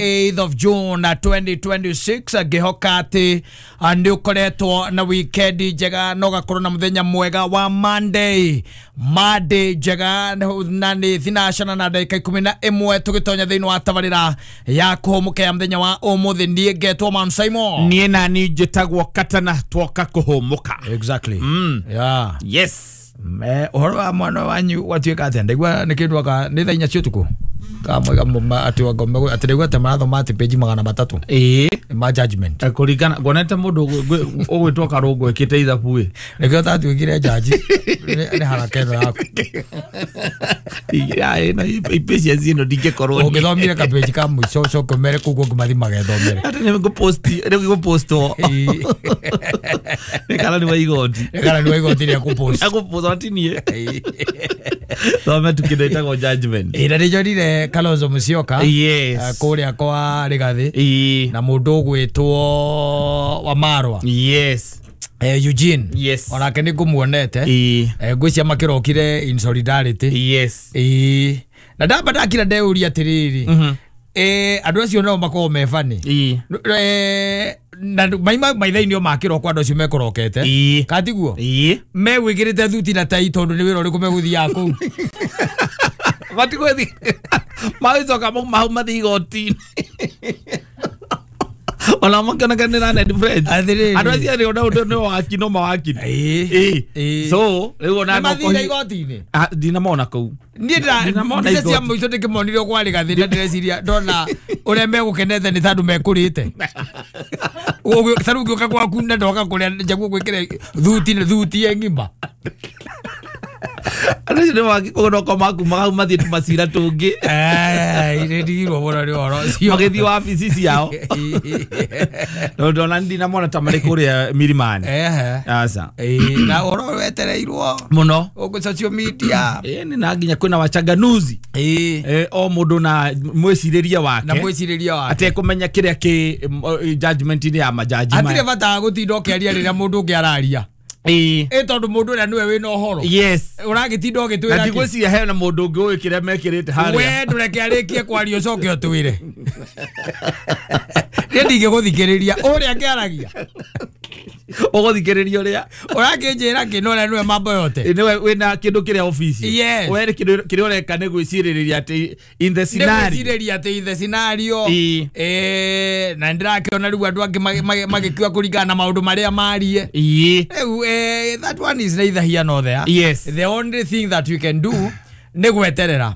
8th of June 2026 ngihoka ati nĩ ũkoretwo na weekend njega na ũgakorwo na mũthenya mwega wa Monday. Monday njega na nĩ thinacana na ndagĩka 11 tũgĩtonya thĩinĩ wa tabarĩra ya kũhũmũka ya mũthenya wa ũmũthĩ. Niĩ ngetwo Man Simon. Niĩ nani njĩtagwo Katana, twoka kũhũmũka. Exactly. Yeah. Yes. Ũhoro wa mwana wanyu watuĩka atĩa? Ndaigua nĩ kĩndũ aka nĩ thaa 4 cia ũtukũ kamwega atĩ atĩ ndaigua atĩ marathoma atĩ page 300. Ĩĩ. Ma judgment. Kũringana ngonete mũndũ ũgwĩtwo Karũngũ ĩkĩte ithabu ĩ. Nĩkĩo tatuĩkire jaji nĩ haraka ĩno yaku. Ipatience ĩno ndingĩkorwo. Ũngĩthomire kapĩji ka mũico ũcoke ũmere kũu kũngĩ mathiĩ magethomere. Atĩ nĩ ngũpost nĩ ngũpostwo. Nĩ karani wa igoti. Nĩ karani wa igoti nĩ akũpost. Akũpost ti niĩ. Thome tu kĩndũ ĩtagwo judgment. Ĩ na nĩnjonire Kalonzo Musyoka. Yes. Kũrĩa kwa Rigathi. Ĩ. Na mũndũ ũgwĩtwo Wamarwa. Yes. Eugene. Yes. Onake nĩ ngũmuonete. Ĩ. Ngwĩciria makĩrokire in solidarity. Yes. Ĩ. Na ndamba ndakira ndeuria atĩrĩrĩ. Andũ acio nao makoragwo me bani. Ĩ. Na maima maithainĩ o makĩrokwo andũ acio mekũrokete. Ĩ. Katiguo? Ĩ. Megwĩkĩrĩte thuti na tai tondũ nĩ wĩra ũrĩkũ megũthiaga kũu. Matigũthiĩ. Magĩcoka mauma hau mathiĩ igoti-inĩ. Ona makĩoneka nĩ Ned Friends. Atĩrĩrĩ. Andũ acio erĩ ona ũndũ nĩ waki no mawaki. Ĩ. Ĩ. So rĩu ona Nĩ mathire igoti-inĩ? Ndinamona kũu. Niĩ Ndinamona mbica cia igoti. mũico ndĩkĩmonire kwa Rigathi na ndĩreciria ndona ũrĩa megũkenete nĩ tondũ mekũrĩte. Ta rĩu ngĩũka gwaku na ndoka kũrĩa njaguo gwĩkĩre thuti thuti ĩ ng'ima. Andũ acio nĩ mawaki koguo no makumaga hau mathiĩ tũmacira tũngĩ. Nĩ ndigirwo mũno nĩ ũhoro ũcio. Magĩthiĩ wabici ciao. Tondũ ona ndinamona ta marĩ kũrĩa Milimani. Ehe. Aca. Ĩ, na ũhoro wetereirwo Mũno. gũkũ social media. Ĩ nĩ na nginya kwĩna wachanganuzi. Ĩ. O mũndũ na mwĩcirĩrie wake. Na mwĩcirĩrie wake. Atekũmenya kĩrĩa kĩ judgment-inĩ ya majaji maya. Hatirĩ bata wa gũtinda ũkĩaria rĩrĩa mũndũ ũngĩ araria. Ĩ. Ĩ tondũ mũndũ ũrĩa nĩwe wĩna ũhoro. Yes. Ũragĩtinda ũgĩtwĩra Na kĩ? ndigwĩciria hena mũndũ ũngĩ ũĩ kĩrĩa mekĩrĩte harĩa. We ndũreke arĩkie kwaria ũcoke ũtwĩre. Niĩ ndingĩgũthikĩrĩria ũrĩa akĩaragia. Ũgũthikĩrĩria ũrĩa? Ũrakĩnjĩra kĩ na ũrĩa nĩwe mambo yote. Nĩwe wĩna kĩndũ kĩrĩa obici. Yes. We kĩrĩa ũreka nĩ gwĩcirĩrĩria atĩ in the Nĩ scenario. gwĩcirĩria atĩ in the scenario. Ĩ. Na nĩndĩrakĩona rĩu andũ angĩ magĩkua kũringana na maũndũ marĩa marie. Ĩ. Rĩu that one is neither here nor there. Yes. The only thing that you can do nĩ gweterera.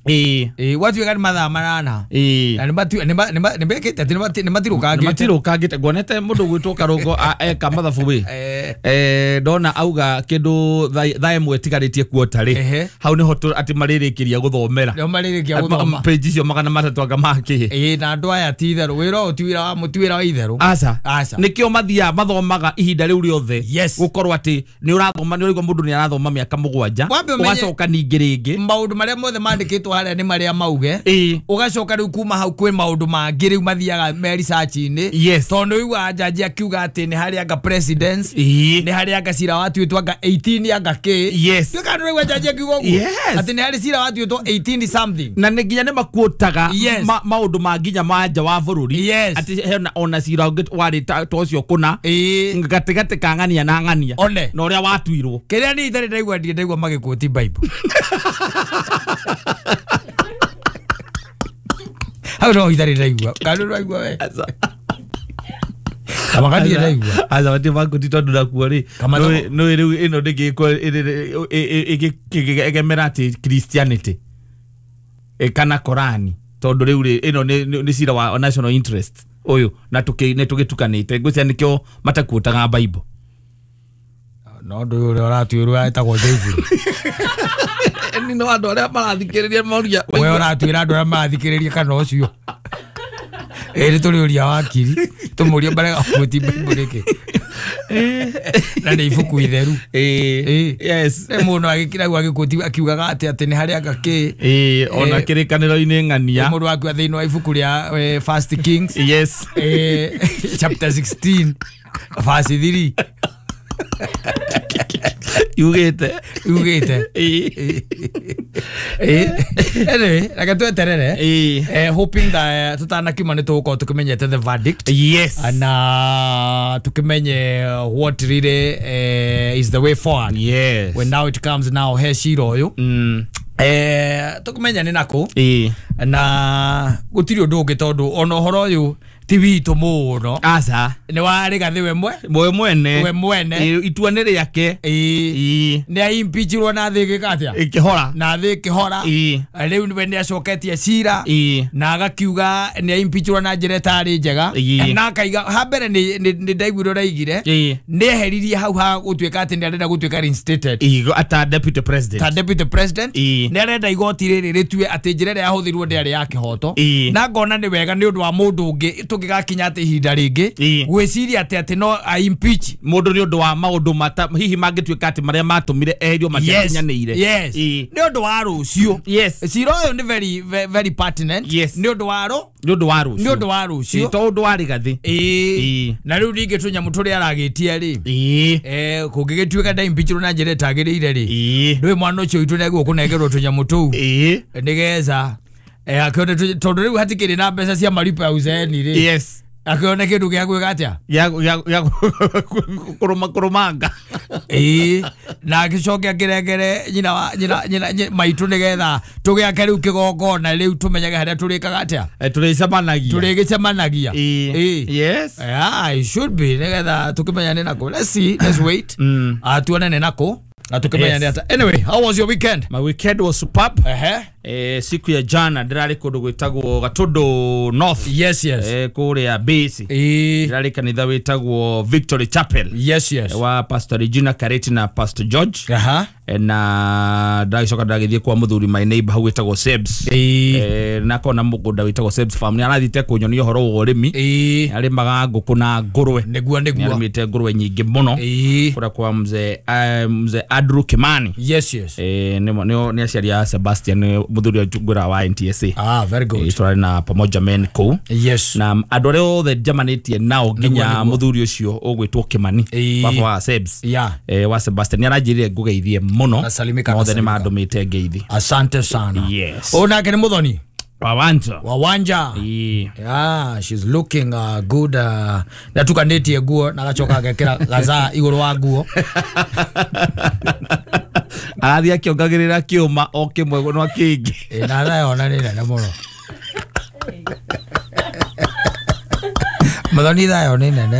Ĩ. Gwatuĩka nĩ mathaa 8. Ĩ. Na nĩ mekĩte atĩ nĩ matirũkangĩte. Matirũkangĩte. Nguonete mũndũ ũgwĩtwo Karũngo eka mathabu ĩ. Ndona auga kĩndũ thaa 1 ĩtigarĩtie kuota rĩ. Ehe. Hau nĩho atĩ marĩrĩkĩria gũthomera. Nĩho marĩrĩkia gũthoma. Page icio 300 anga makĩ. Ĩ, na andũ aya ti itherũ. Wĩra ũyũ ti wĩra wa ti wĩra wa itherũ. Aca. Aca. Nĩkĩo mathiaga mathomaga ihinda rĩu rĩothe. Yes. Gũkorwo atĩ nĩ ũrathoma nĩ ũraigua mũndũ nĩ arathoma mĩaka 7. Wambe ũmenye Ũgacoka ningĩ rĩngĩ. Maũndũ marĩa mothe mandĩkĩtwo harĩa nĩ marĩa mauge. Ĩ. Ũgacoka rĩu kuma hau kwĩ maũndũ mangĩ rĩu mathiaga me research-inĩ. Yes. Tondũ ũiguaga jaji akiuga atĩ nĩ harĩ anga presidents. Ĩ. Nĩ harĩ anga cira watuĩtwo anga 18 anga kĩ. Yes. Tuĩka nĩ ũraigua jaji akiuga ũguo. Yes. Atĩ nĩ harĩ cira watuĩtwo 18 something. Na nĩ nginya nĩ makuotaga Yes. maũndũ ma nginya ma nja wa bũrũri. Yes. Atĩ hena ona cira ũngĩ warĩ ta ũcio kũna. Ĩ. Gatagatĩ ka ng'ania na ng'ania. One. Na ũrĩa watuirwo. Kĩrĩa niĩ itarĩ ndaigua ndirĩ ndaigua magĩkũti Bible. Hau no itarĩ ndaigua. Kana ũraigua we? Aca. Kama ndirĩ ndaigua. Aca matirĩ makũti tondũ nakuo rĩ. Kama Nĩũĩ rĩu ĩno ndĩngĩgĩkorwo ĩgĩgemera atĩ Christianity. Kana Korani. Tondũ rĩu rĩ ĩno nĩ cira wa national interest ũyũ na nĩ tũgĩtukanĩte. Ngwĩciria nĩkĩo matakuotaga Bible. No ndũ ũrĩa ũratuĩrwo etagwo David. Nĩ no andũ arĩa marathikĩrĩria moria. We ũratuĩra andũ arĩa marathikĩrĩria kana ũcio. Ĩ nĩ tũrĩũria wakiri tũmũrie mbere gũti Bible nĩkĩ. Na nĩ ibuku itheru. Ĩ. Yes. Nĩ mũndũ agĩkira hau agĩkũti akiugaga atĩ atĩ nĩ harĩ anga kĩ. Ĩ, ona kĩrĩkanĩro-inĩ ng'ania. Mũndũ akua thĩinĩ wa ibuku rĩa First Kings. Yes. Chapter 16 verse 3. Yugite. Yugite. Anyway, reke tweterere. Hoping that tutanakiuma nĩ tũgũkorwo tũkĩmenyete the verdict. Yes. Na tukimenye what really is the way forward. Yes. When now it comes now he cira ũyũ. Tukumenya nĩ nakũ. Na gũtirĩ ũndũ ũngĩ tondũ ona ũhoro ũyũ ti witũ mũno. Aca. Nĩ wa Rigathĩ we mwe. We mwene. We mwene. Itua nĩ rĩake. Nĩ aimpeachirwo na thĩ ĩgĩka atĩa? Ĩkĩhora. Na thĩ ĩkĩhora. Rĩu nĩwe nĩ acoketie cira. Na agakiuga nĩ aimpeachirwo na njĩra ĩtarĩ njega. Na akaiga ha mbere nĩ ndaiguire ũraigire. Nĩ eheririe hau ha gũtuĩka atĩ nĩ arenda gũtuĩka reinstated. Ata deputy president. Ta deputy president. Nĩ arenda igoti rĩrĩ rĩtue atĩ njĩra ĩrĩa yahũthĩrirwo ndĩarĩ ya kĩhoto. Na ngona nĩ wega nĩ ũndũ wa mũndũ ũngĩ tũngĩgakinya atĩ ihinda rĩngĩ gwĩciria atĩ atĩ no a impeach mũndũ nĩ ũndũ wa maũndũ mata hihi mangĩtuĩka atĩ marĩa matũmire eherio matiakinyanĩire. Yes. Nĩ ũndũ wa rũciũ. Yes. Cira ũyũ nĩ very very pertinent. Yes. Nĩ ũndũ wa nĩ ũndũ wa rũciũ. Nĩ ũndũ wa rũciũ. To ũndũ wa Rigathĩ. Na rĩu ningĩ tũnyamũ tũrĩa aragĩtie rĩ. Kũngĩgĩtuĩka nda impeachirwo na njĩra ĩtagĩrĩire rĩ. Ndũĩ mwana ũcio witũ nĩagĩrĩirwo kũnengerwo tũnyamũ tũu. Nĩgetha akione tondũ rĩu hatikĩrĩ na mbeca cia maripo ya uzeeni rĩ. Yes. Akione kĩndũ gĩa gwĩka atĩa? Ya kũrũma kũrũmanga. Na agĩcoke akĩrengere nyina wa nyina maitũ nĩgetha tũgĩake rĩu kĩgongona rĩu tũmenyage harĩa tũrĩkaga atĩa? Tũrĩcemanagia. Tũrĩgĩcemanagia. Yes. Yeah, it should be nĩgetha tũkĩmenya nĩ nakũ. Let's see, let's wait. Tuone nĩ nakũ. Yes. Anyway, how was your weekend? My weekend was superb. Siku ya jana ndirari kundu gwitagwo Gatundu North. Yes, yes. Kuria base. Ndirari kanitha witagwo Victory Chapel. Yes, yes. Wa Pastor Regina Kareti na Pastor George. Na ndagicoka ndagithie kwa muthuri my neighbor hau witagwo Sebs. Na kona mugunda witagwo Sebs farm. Ni arathite kunyonia uhoro wa urimi. Arimaga nguku na ngurwe. Niguo niguo. Arimite ngurwe nyingi muno. Kuria kwa mzee mzee Andrew Kimani. Yes, yes. Ni aciari a Sebastian muthuri wa ngura wa NTSA. Ah, very good. Turari na pamoja men kuu. Yes. Na andu aria othe njamanĩtie nao nginya muthuri ucio ugwitwo Kimani. Baba wa Sebs. Yeah. Wa Sebastian ni aranjirire ngugeithie muno. Othe ni mandumite ngeithi. Asante sana. Yes. Onake ni muthoni. Wawanja. Wawanja. Yeah, she's looking good. Natukanĩtie nguo na gacoka agekĩra gazaa igũrũ wa nguo. Arathiĩ akĩongagĩrĩra kĩũma o kĩmwe no kĩngĩ. Na thaa nĩ nene mũno. Muthoni thaa nĩ nene.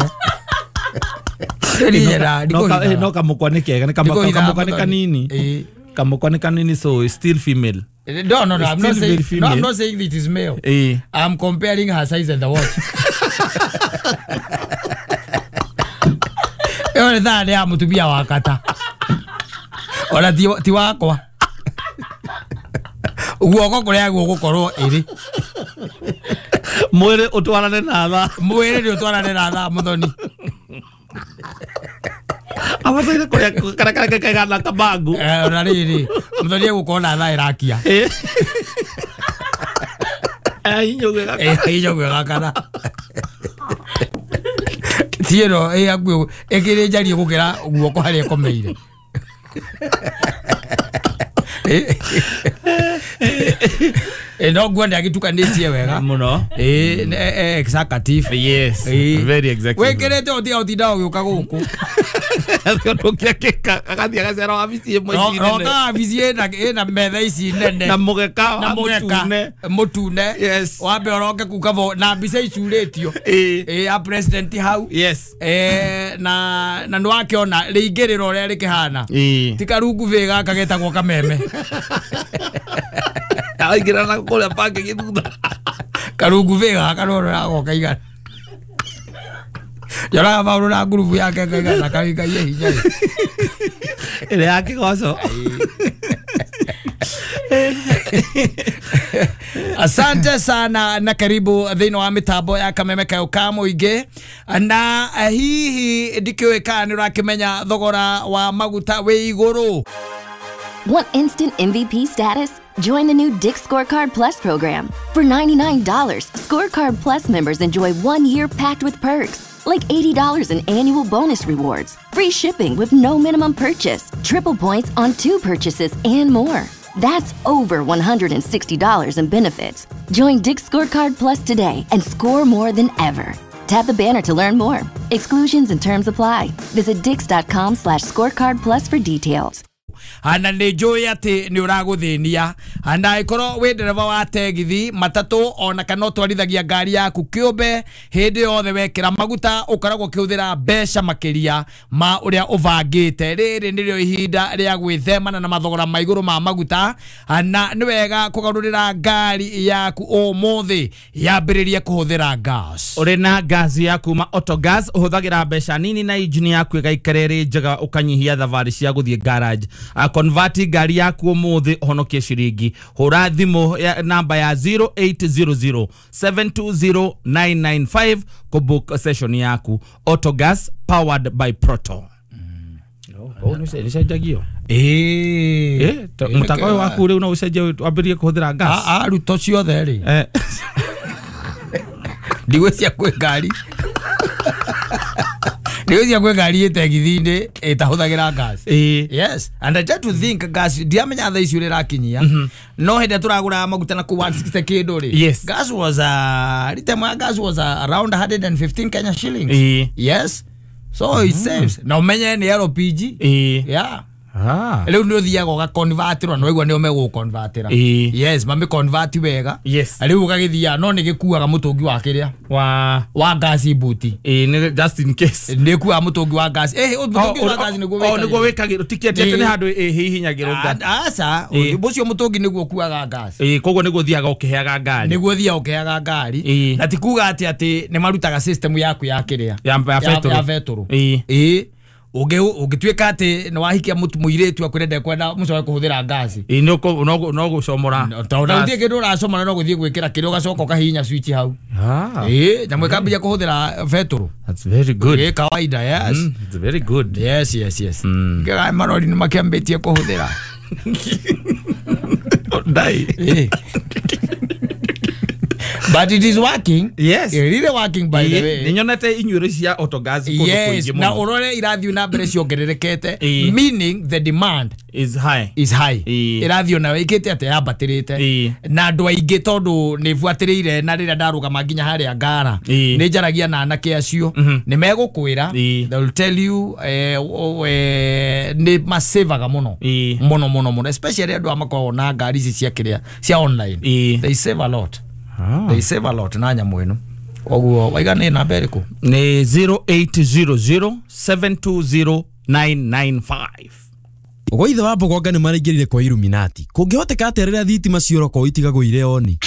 No kamũkwa nĩ kega, nĩ kamũkwa nĩ kanini. Kamũkwa nĩ kanini, so it's still female. No, no, no, I'm not saying, no, I'm not saying it is male. I'm comparing her size and the watch. Ĩyo nĩ thaa nĩ ya mũtumia wa kata. Ona ti wakwa. Guoko kũrĩa gũgũkorwo ĩrĩ. Mwĩrĩ ũtwarane na thaa. Mwĩrĩ nĩ ũtwarane na thaa muthoni. Abataire kũrĩa karakara kaigana kabangu. Ona rĩrĩ muthoni egũkorwo na thaa ĩrakia. Hinya gwĩgakana. Ti ĩno ĩhakuhĩ ĩkĩrĩ njarie gũkĩra guoko harĩa ĩkomeire. No nguo nĩ agĩtukanĩtie wega mũno. Executive. Yes, very executive. Wĩkĩrĩte ũtiga ũtinda ũgĩũka gũkũ. Agathiĩ agacera wabici ĩmwe ici nene. Roka wabici ĩna metha ici nene. Na mũgeka wa mũtune. Mũtune. Yes. Wambe ũroke kuu na mbica icurĩtio. Ya president hau. Yes. Na nĩ wakĩona rĩingĩrĩro ũrĩa rĩkĩhana. Ti karungu bĩ gaka getagwo kameme. Araingĩra na kũrĩa bangi gĩthutha. Karungu bĩ gaka no roka igana. Yoraga maũndũ na ngurubu yake kaigana kaigaiye hinya. Ĩrĩa ya kĩgoco. Asante sana na karibu thĩinĩ wa mĩtambo ya Kameme Kayo ka mũingĩ. Na hihi ndikĩũĩ kana nĩ ũrakĩmenya thogora wa maguta wĩ igũrũ. Want instant MVP status? Join the new Dick's Scorecard Plus program. For $99, Scorecard Plus members enjoy 1 year packed with perks, like $80 in annual bonus rewards, free shipping with no minimum purchase, triple points on 2 purchases, and more. That's over $160 in benefits. Join Dick's Scorecard Plus today and score more than ever. Tap the banner to learn more. Exclusions and terms apply. Visit dicks.com/scorecard plus for details. Ana nä njå atä nä å ragå thä nia na ĩkorwo wä ndereba wa tegithi matatũ ona kana ũtwarithagia ngari yaku kĩũmbe hĩndĩ yothe wekĩra maguta ũkoragwo ũkĩhũthĩra mbeca makĩria ma ũrĩa ũbangĩte. Rĩrĩ nĩrĩo ihinda rĩa gwĩthemana na mathogora ma igũrũ ma maguta, na nĩ wega kũgarũrĩra ngari yaku ũmũthĩ yambĩrĩrie kũhũthĩra gas. Ũrĩ na gas ya kuma Autogas ũhũthagĩra mbeca nini na injini yaku ĩgaikara ĩrĩ njega ũkanyihia thabarĩ cia gũthiĩ garage. Convert ngari yaku umuthi uhonokie ciringi. Hura thimu ya namba ya 0800 720 995 kubook session yaku. Autogas powered by Proto. Oh, ni cenjagio. Mutako waku riu no ucenjie wambirie kuhuthira gas. Ruto ciothe ri. Ndigwĩcia kwĩ ngari. Ndigwĩcia kwĩ ngari ĩtegithi-inĩ ĩtahũthagĩra gas. Yes, and I try to think gas ndiamenya thaa ici ũrĩa ĩrakinyia. No hĩndĩ tũragũra maguta na kũu 160 kĩndũ rĩ. Yes. Gas was rita gas was around 115 Kenya shillings. Yes. So it saves. Na umenye ni LPG. Yeah. Rĩu nĩ ũthiaga ũgakonvertĩrwo na waigua nĩo megũgũkonvertĩra. Yes, mamĩconvert wega. Yes. Rĩu ũgagĩthiaga no nĩ gĩkuaga mũtũngi wa kĩrĩa wa gas buti. Nĩ just in case. Nĩ ĩkuaga mũtũngi wa gas. Mũtũngi wa gas nĩguo wĩkagĩrwo. Nĩguo wĩkagĩrwo tiketi atĩ nĩ handũ ĩhihinyagĩrwo gas. Aca, ũcio mũtũngi nĩguo ũkuaga gas. Koguo nĩguo ũthiaga ũkĩheaga ngari. Nĩguo ũthiaga ũkĩheaga ngari. Na ti kuga atĩ nĩ marutaga system yaku ya kĩrĩa. Ya betũrũ. Ũngĩtuĩka atĩ nĩ wahikia mũirĩtu akwĩre ndekwenda mũcoke kũhũthĩra ngasi. No gũcomora. Tondũ gũtirĩ kĩndũ ũracomora no gũthiĩ gwĩkĩra kĩrĩa ũgacoka ũkahihinya switch hau. Nyamũ ĩkambia kũhũthĩra betũrũ. That's very good. Kawaida, yes. It's very good. Yes, yes, yes. Kĩra marori nĩ makĩambĩtie kũhũthĩra. Ndai. But it is working. Yes. It really working, by the way. Ninyonete inyuĩrĩ cia Autogas kũndũ kũingĩ mũno. Na ũrore irathiĩ na mbere ciongererekete, meaning the demand is high. Is high. Irathiĩ na ĩkĩte atĩ yambatĩrĩte. Na andũ aingĩ tondũ nĩ buatĩrĩire na rĩrĩa ndarũgama nginya harĩa ngara nĩ njaragia na anake acio nĩ megũkwĩra, they will tell you nĩ masevaga mũno mũno mũno mũno, especially andũ a makoragwo na ngari ici cia kĩrĩa cia online. They save a lot. They save a lot na nyamũ ĩno. Koguo waiga nĩ namba ĩrĩkũ? Nĩ 0800 720 995. Ũguo ithe wa Mbogonga nĩ maraingĩrire kwa Illuminati. Kũngĩhoteka atĩa rĩrĩa thitima ciora kwao itigagwo irĩ oni?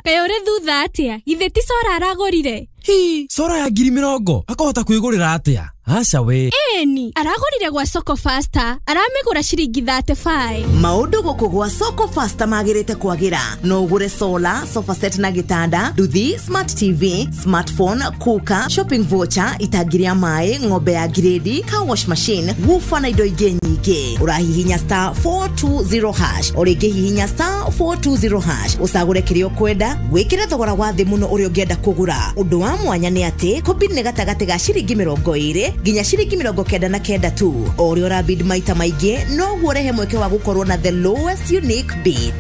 Kaĩ ũrĩ thutha atĩa? Githĩ ti cora aragũrire? Hi, cora ya 20,000 akahota kwĩgũrĩra atĩa? Aca we. Ĩni, aragũrire gwa Soko Faster, aramĩgũra ciringi 35. Maũndũ gũkũ gwa Soko Faster magĩrĩte kwagĩra. No ũgũre solar, sofa set na gĩtanda, nduthi, smart TV, smartphone, cooker, shopping voucher, itangi rĩa maĩ, ng'ombe ya grade, car wash machine, woofer na indo ingĩ nyingĩ. Ũrahihinya star 420 hash, o rĩngĩ hihinya star 420 hash, ũcagũre kĩrĩa ũkwenda, wĩkĩre thogora wa thĩ mũno ũrĩa ũngĩenda kũgũra. Ũndũ wa mwanya nĩ atĩ kũbid nĩ gatagatĩ ga ciringi 20 nginya ciringi 99 tu. O ũrĩa ũrabid maita maingĩ noguo ũrehe mweke wa gũkorwo na the lowest unique bid.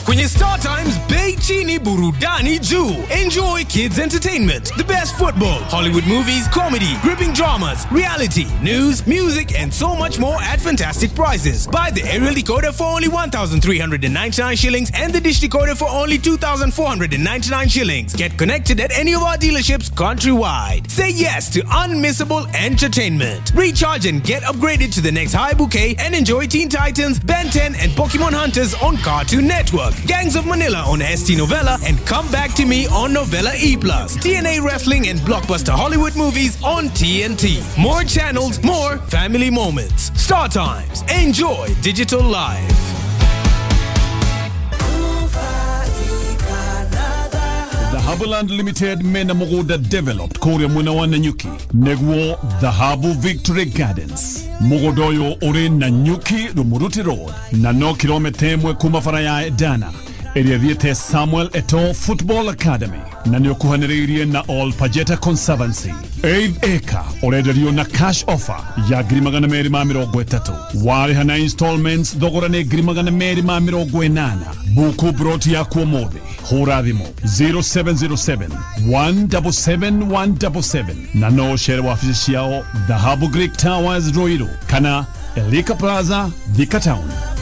Kwenye Star Times, bei chini burudani juu. Enjoy kids entertainment, the best football, Hollywood movies, comedy, gripping dramas, reality, news, music, and so much more at fantastic prices. Buy the aerial decoder for only 1,399 shillings and the dish decoder for only 2,499 shillings. Get connected at any of our dealerships countrywide. Say yes to unmissable entertainment. Recharge and get upgraded to the next high bouquet and enjoy Teen Titans, Ben 10, and Pokemon Hunters on Cartoon Network. Gangs of Manila on ST Novella, and Come Back to Me on Novella E+. TNA Wrestling and Blockbuster Hollywood movies on TNT. More channels, more family moments. Star Times. Enjoy digital life. Dhahabuland Limited mena mugunda developed kuria mwena wa Nanyuki neguo Dhahabu Victory Gardens. Mugunda uyu uri Nanyuki Rumuruti Road na no kilomita 1 kuma bara ya Dana. Ĩrĩa ĩthiĩte Samuel Eto'o Football Academy na nĩ ũkuhanĩrĩirie na All Pajeta Conservancy. Eighth acre ũrenderio na cash offer ya 230,000. Warĩha na installments thogora nĩ 280,000. Buku broti yaku ũmũthĩ, hũra thimũ 0707 177 177 na no ũcere wabici ciao Dhahabu Greek Towers, Ruiru, kana Elika Plaza, Thika Town.